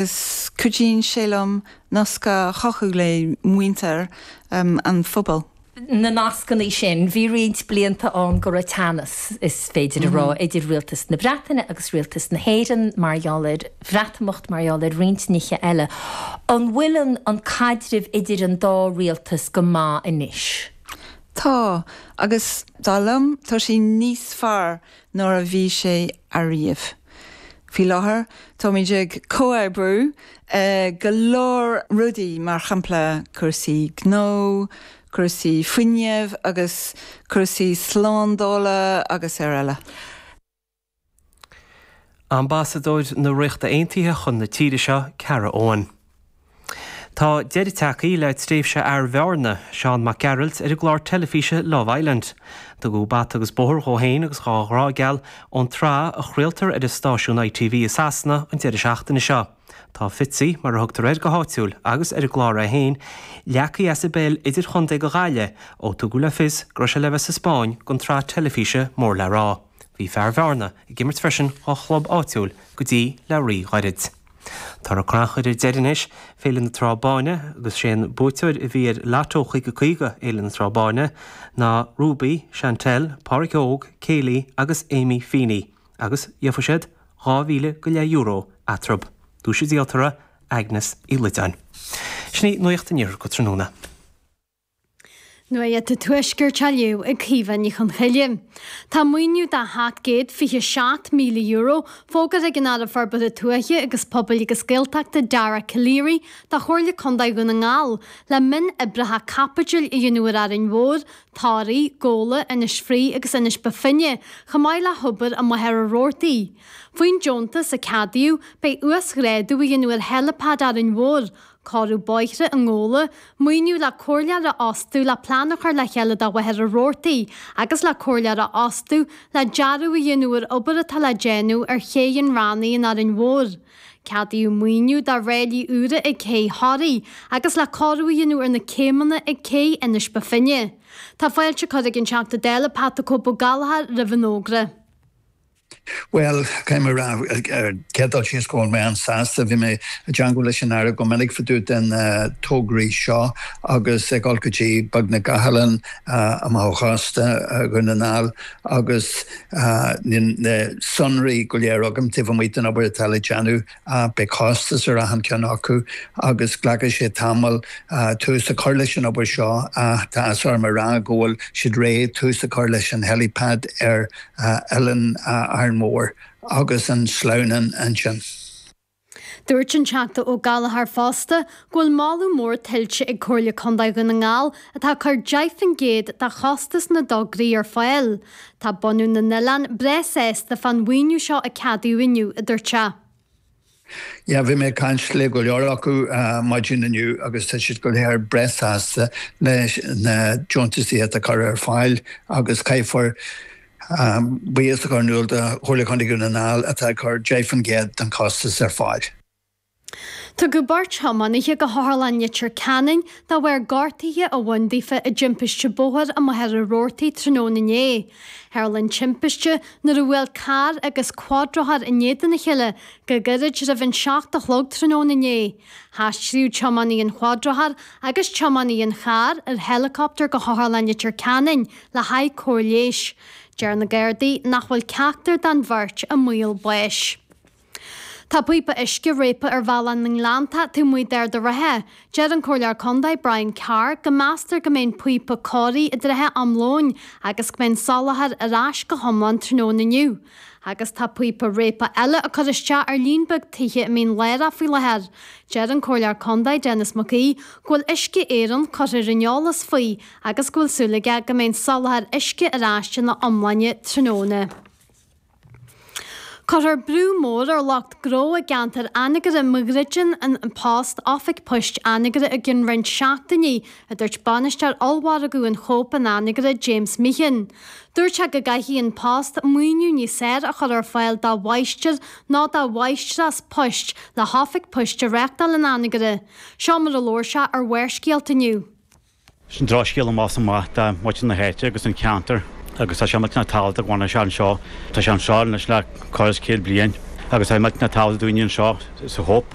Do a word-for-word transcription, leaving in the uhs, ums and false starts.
Agus cuidíonn sé liom nasc a chothú le muintir um, an phobail. Na nascanna sin, bhí roinnt blianta ann go raibh teannas is féidir a rá mhm. idir rialtas na Breataine agus rialtas na hÉireann mar gheall ar Bhreatimeacht mar gheall ar roinnt nithe eile. An bhfuil an an caidreamh idir an dá rialtas go maith anois? Tá agus dar liom tá sé níos fearr ná a bhí sé ariamh. Faoi láthair táimid ag comhoibriú uh, go leor rudaí mar shampla cúrsaí gnó, cúrsaí fuinnimh agus cúrsaí slándála agus araile. Ambasadóir na Ríochta Aontaithe chun na tíre seo Cara Owen. Tá deireadh tagtha le tréimhse fhear Bhearna, Seán Mac Gearailt ar an gclár teilifíse Love Island. Tugadh bata agus bóthar dhó féin agus dá ghrá geal ón tsraith a chraoltar ar an stáisiún ITV i Sasana an deireadh seachtaine seo. Tá Fitzy mar a thugtar air go háitiúil agus ar an gclár é féin, leagtha as i bpeil idirchontae do Ghaillimh ó tugadh le fios go raibh sé le bheith sa Spáinn don tsraith teilifíse mór le rá. Bhí fear Bhearna ag imirt freisin dá chlub áitiúil go dtí le rí-ghairid. Tá crannchur ar deireadh anois Féile na Trá Báine agus sé an buaiteoir a bhí ar Lotto chúig caoga Fhéile na Trá Báine ná Ruby, Chantel, Pádraig Óg, Kaylee agus Amy Feeney agus gheobhaidh siad dhá mhíle go leith euro eatarthu. Duais an díoltóra Agnes Uí Loideáin. Sin í nuacht an iarthair go tráthnóna. Nuacht an Tuaiscirt á léamh ag Caoimhe Ní Chonchoille. Tá maoiniú de sheacht gcéad fiche seacht míle euro fógartha ag an Aire Forbartha Tuaithe agus Pobail agus Gaeltachta Dara Calleary do Chomhairle Contae Dhún na nGall le mionoibreacha caipitil a dhéanamh ar Árainn Mhór, Toraigh, Gabhla, Inis Fraoigh agus Inis Bó Finne, chomh maith le hobair i Machaire Rabhartaigh. Faoin deontas a ceadaíodh, beidh uasghrádú a dhéanamh ar heilipad Árainn Mhór, Cóiriú bóithre i nGabhla, maoiniú le comhairleoir a fhostú le plean a chur le chéile do Mhachaire Rabhartaigh agus le comhairleoir a fhostú le dearadh a dhéanamh ar obair atá le déanamh ar Ché an Rannaigh in Árainn Mhór. Ceadaíodh maoiniú do ráillí úra ag Cé Thoraí agus le cóiriú a dhéanamh ar na céimeanna ag Cé Inis Bó Finne. Tá fáilte curtha ag an Teachta Dála Pat the Cope Ó Gallchóir roimh an fhógra. Well caithfidh mé a rá ar chéad dul síos go bhfuil mé an-sásta, bhí mé i dteagmháil leis an Aire go minic fá dtaobh den tograí seo agus ag dul go dtí beagnach gach oileán amach ó chósta Dhún na nGall agus níl na sonraí go léir agam taobh amuigh den obair atá le déanamh. Beidh costas ar achan ceann acu agus glacfaidh sé tamall tús a chur leis an obair seo ach tá áthas orm a rá go bhfuil siad réidh tús a chur leis an helipad ar Oileán Árainn Mhór agus an sleamhnán ansin. Dúirt an Teachta Ó Gallchóir fosta go bhfuil moladh mór tuillte ag Comhairle Contae Dhún na nGall atá ag cur deich faoin gcéad de chostas na dtograí ar fáil. Tá bunadh na n-oileán breá sásta fán mhaoiniú seo a ceadaíodh inniu, a dúirt sé. Yeah, bhí mé ag caint le go leor acu maidin inniu agus tá siad go léir breá sásta leis na deontaisí atá curtha ar fáil agus caithfear buíochas a chur in iúl do Chomhairle Contae Dhún na nGall atá ag cur deich faoin gcéad den chostas ar fáil. Tugadh beirt thiománaithe go hOtharlann Leitir Ceanainn de bharr gortuithe a bhain daofa i dtimpiste bóthair i Machaire Rabhartaigh tráthnóna inné. Tharla an timpiste nuair a bhuail carr agus cuadrothar in éadan a chéile go gairid roimh an seacht a chlog tráthnóna inné. Haistríodh tiománaí an chuadrothair agus tiománaí an chairr ar heileacoptar go hOtharlann Leitir Ceanainn le haghaidh cóir leighis. Deir na Gardaí nach bhfuil ceachtar den bheirt i mbaol báis. Tá píopa uisce réabtha ar Bhealach na nGleanntach taobh amuigh d'Ard an Rátha. Deir an Comhairleoir Contae Brian Carr go meastar go mbeidh an píopa cóirithe i dtrátha am lóin agus go mbeidh an soláthar ar ais go hiomlán tráthnóna inniu. Agus tá píopa réabtha eile á cur isteach ar líon beag tithe i Mín Lárach faoi láthair. Deir an Comhairleoir Contae Denis Mac Aoidh go bhfuil Uisce Éireann curtha ar an eolas faoi agus go bhfuil súil aige go mbeidh an soláthar uisce ar ais ina iomláine tráthnóna. Cuirfear brú mór ar lucht gnó i gceantar Anagaire má dhruideann An Post oifig poist Anagaire i gcionn roinnt seachtainí, a dúirt bainisteoir ollmhargadh an Chóip in Anagaire, James Meehan. Dúirt sé go gcaithfidh An Post maoiniú níos fearr a chur ar fáil dá mháistir nó dá mháistreás poist le hoifig poist a reáchtáil in Anagaire. Seo mar a labhair sé ar Bharrscéalta inniu. Sin drochscéal amach is amach do mhuintir na háite agus an ceantar agus tá sé millteanach tábhachtach go bhfanfadh sé anseo. Tá sé anseo anois le corradh is céad bliain Agus tá millteanach tábhachtach dúinne anseo sa Hope.